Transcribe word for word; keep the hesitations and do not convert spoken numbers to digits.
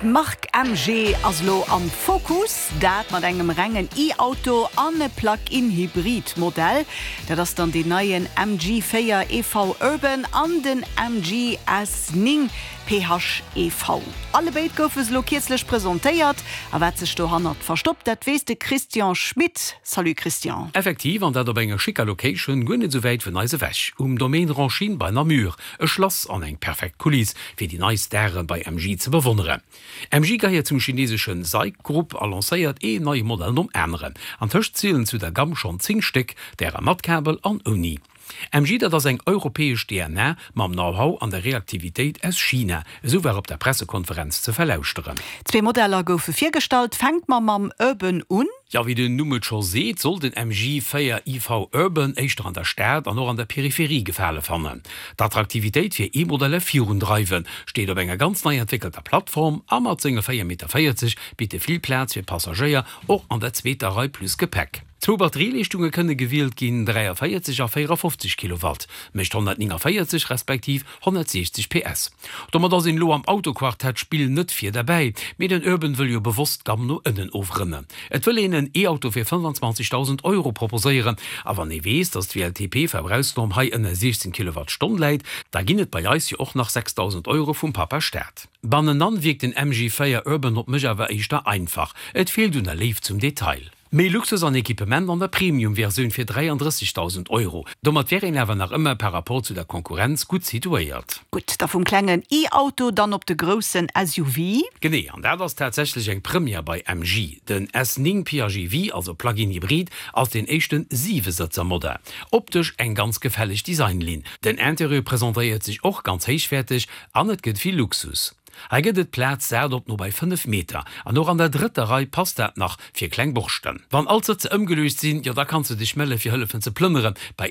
D'Mark M G ass lo am Fokus, dat mat engem rengen E-Auto an e Plug-in-Hybrid-Modell. Dat ass dann den neien M G véier E V Urban an den M G S néng P H E V. Alle béid goufe lo kierzlech presentéiert, a wat sech dohannert verstoppt, dat weess de Christian Schmit. Salut Christian. Effektiv, an dat op enger schicker Location, guer net sou wäit vun eis ewech, um Domaine Ronchine bei Namur, e Schlass an eng perfekt Kuliss fir déi nei Stare bei M G ze bewonneren. M G gehéiert zum chineeseschen S A I C Group a lancéiert een neie Modell nom aneren. Antëscht zielen zu der Gamm schonn zéng Stéck, därer mat Kabel an ouni. M G, dat ass eng europäesch D N A mam Know-how an der Reaktivitéit aus China, esou war op der Pressekonferenz ze verlauschteren. Zwee Modeller goufe virgestallt, fänke mer mam Urban un. Ja, wéi den Numm et scho seet, soll den M G véier E V Urban éischter an der Stad an och an der Peripherie Gefale fannen. D'Attraktivitéit fir E-Modeller virundreiwen, steet op enger ganz nei entwéckelter Plattform a mat senge véier Meter véierzeg bitt e vill Plaz fir Passagéier och an der zweeter Rei plus Gepäck. Zwou Batterieleeschtunge kënne gewielt ginn, dräiavéierzeg a véierafofzeg Kilowatt, mécht honnertnéngänvéierzeg respektiv honnertsiechzeg P S. Domat ass een elo am Autoquartett-Spill net vir derbäi, mee den Urban wëll jo bewosst d'Gamm no ënnen ofrënnen. Et wëll een en E-Auto fir fënnfanzwanzegdausend Euro proposéieren, a wann ee weess, datt d'W L T P-Verbrauchsnorm hei ënner siechzéng Kilowattstonn läit, da ginn et bei eis jo och nach sechsdausend Euro vum Pappa Staat. Bannenan wierkt den M G véier Urban op mech awer éischter einfach, et feelt un der Léift zum Detail. Méi Luxus an Equipement an der Premium-Versioun fir dräiandrëssegdausend Euro. Domat wär een awer nach ëmmer par rapport zu der Konkurrenz gutt situéiert. Gutt, da vum klengen E-Auto dann op de groussen S U V. Genee, an dat ass tatsächlech eng Première bei M G. Den S néng P H E V, also Plug-in Hybrid, ass den éischte Siwesëtzer-Modell. Optesch eng ganz gefälleg Designlinn. Den Interieur presentéiert sech och ganz héichwäerteg an et gëtt vill Luxus. Hei gëtt et Plaz sat op no bei fënnef Meter an och an der drëtter Rei passt dat nach fir kleng Borschten. Wann all d'Sëtzer ëmgeluecht sinn, jo da kanns du dech melle fir hëllefen ze plënneren. Bei